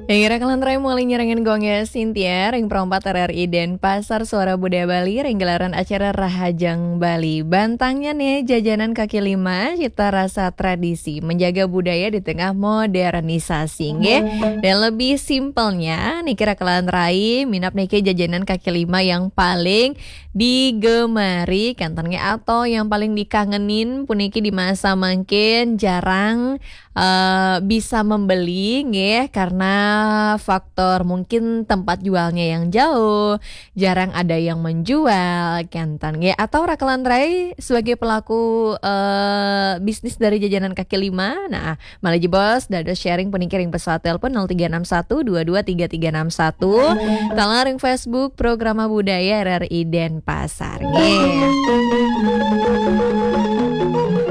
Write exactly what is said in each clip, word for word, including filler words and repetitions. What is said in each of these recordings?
Ing ira kalantarai maulah nyarengin Gung Sintia, ring Pro empat R R I Denpasar, Suara Budaya Bali, ring gelaran acara Rahajeng Bali. Bantangnya nih, jajanan kaki lima, cita rasa tradisi, menjaga budaya di tengah modernisasi, nggih. Dan lebih simpelnya, niki ira kalantarai, minab niki jajanan kaki lima yang paling digemari, kenten nggih, atau yang paling dikangenin, puniki di masa mangkin jarang eh, bisa membeli, nggih, karena faktor mungkin tempat jualnya yang jauh, jarang ada yang menjual, kenten, nggih, atau ira kalantarai sebagai pelaku, eh, bisnis dari jajanan kaki lima. Nah, malih jebos dados sharing puniki ring pesawat telepon nol tiga enam satu dua dua tiga tiga enam satu, taler ring Facebook Programa Budaya R R I Denpasar, nggih.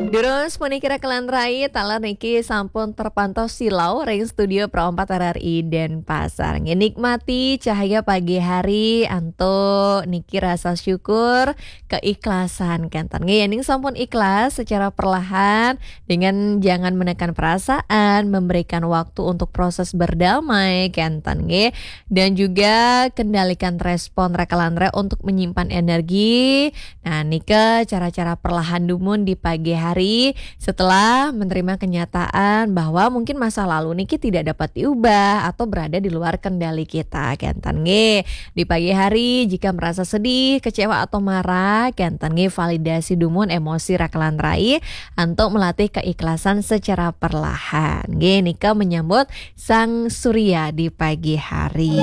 Durus puniki ira kalantarai, taler niki sampun terpantau silau ring studio Pro empat R R I Denpasar. Nggih, nikmati cahaya pagi hari, antuk niki rasa syukur, keikhlasan, kenten nggih. Yen sampun ikhlas secara perlahan dengan jangan menekan perasaan, memberikan waktu untuk proses berdamai, kenten nggih. Dan juga kendalikan respon ira kalantarai untuk menyimpan energi. Nah, nika cara-cara perlahan dumun di pagi hari setelah menerima kenyataan bahwa mungkin masa lalu niki tidak dapat diubah atau berada di luar kendali kita, kenten nggih. Di pagi hari, jika merasa sedih, kecewa, atau marah, kenten nggih, validasi dumun emosi ira kalantarai antuk melatih keikhlasan secara perlahan. Nggih, nika menyambut Sang Surya di pagi hari.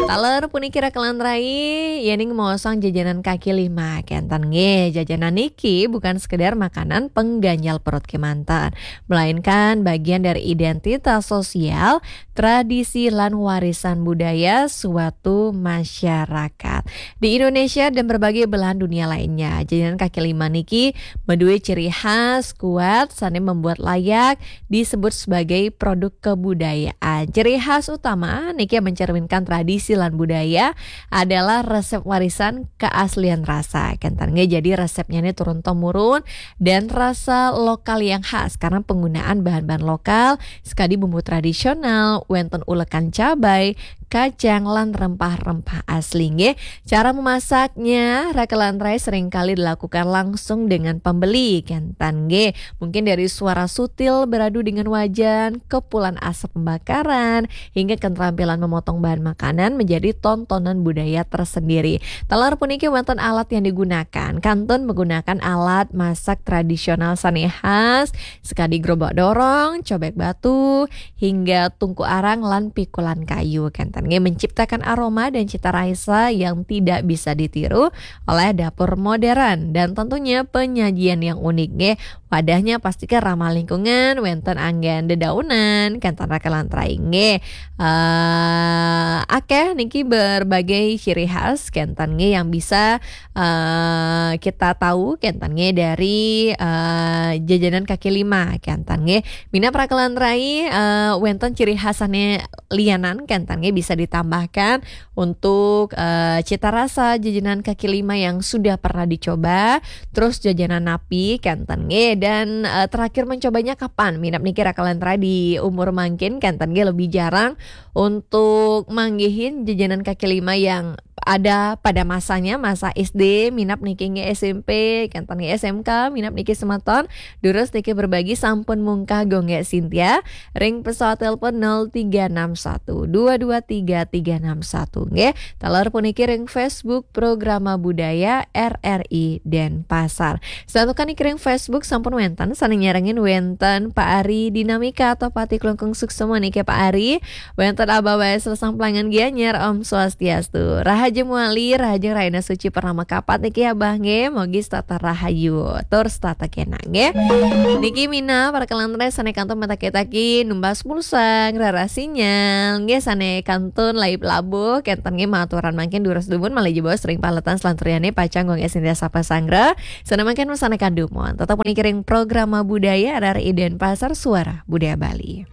Taler puniki ira kalantarai, yen maosang jajanan kaki lima, kenten nggih, jajanan niki bukan sekedar makanan pengganjal perut kemanten, melainkan bagian dari identitas sosial, tradisi, lan warisan budaya suatu masyarakat. Di Indonesia dan berbagai belahan dunia lainnya, jajanan kaki lima niki madué ciri khas kuat sané membuat layak disebut sebagai produk kebudayaan. Ciri khas utama niki yang mencerminkan tradisi lan budaya adalah resep warisan keaslian rasa. Kenten nggih, jadi resepnya nih turun temurun dan rasa lokal yang khas karena penggunaan bahan-bahan lokal, sekadi bumbu tradisional, wénten ulekan cabai, kacang, lan rempah-rempah asli, nggih. Cara memasaknya, ira kalantarai seringkali dilakukan langsung dengan pembeli, kenten nggih. Mungkin dari suara sutil beradu dengan wajan, kepulan asap pembakaran, hingga keterampilan memotong bahan makanan menjadi tontonan budaya tersendiri. Taler puniki wénten alat yang digunakan. Kantun menggunakan alat masak tradisional sané khas, sekadi gerobak dorong, cobek batu, hingga tungku arang lan pikulan kayu. Kenten nggih, menciptakan aroma dan cita rasa yang tidak bisa ditiru oleh dapur modern dan tentunya penyajian yang unik nggih. Wadahnya pastikan ramah lingkungan, wénten anggén dedaunan, kenten ira kalantarai nggih. Eh, akeh niki berbagai ciri khas kenten nggih yang bisa eh, kita tahu kenten nggih dari eh, jajanan kaki lima kenten nggih. Minab ira kalantarai, eh, wénten ciri khas sané lianan kenten nggih bisa ditambahkan untuk eh, cita rasa jajanan kaki lima yang sudah pernah dicoba. Terus jajanan napi kenten nggih. Dan eh, terakhir mencobanya kapan? Minab niki ira kalantarai di umur mangkin kenten nggih lebih jarang untuk manggihin jajanan kaki lima yang ada pada masanya, masa S D, minab niki nggih S M P, kenten nggih S M K, minab niki semeton, durus niki berbagi sampun mungkah Gung Sintia, ring pesawat telepon nol tiga enam satu dua dua tiga tiga enam satu nggih. Taler puniki ring Facebook Programa Budaya R R I Denpasar. Santukan niki ring Facebook sampun wénten sané nyarengin, wénten Pak Ari Dinamika atau Pati Klungkung Suksema niki Pak Ari. Wénten Abah Wesel Samplangan Gianyar, Om Swastiastu. Rahaja muali, rahajeng rahina suci purnama kapat niki Abah nggih, mugi setata rahayu tur setata kenak nggih. Niki minab ira kalantarai sané kantun mataki-taki numbas pulsa, ngrereh sinyal nggih, sané kantun laib labuh kenten nggih, maturan mangkin durus dumun malih jebos ring paletan salanturyané pacang Gung Sintia sapa sanggra. Sané mangkin wasanaken dumun. Tetep puniki ring Programa Budaya R R I Denpasar, Suara Budaya Bali.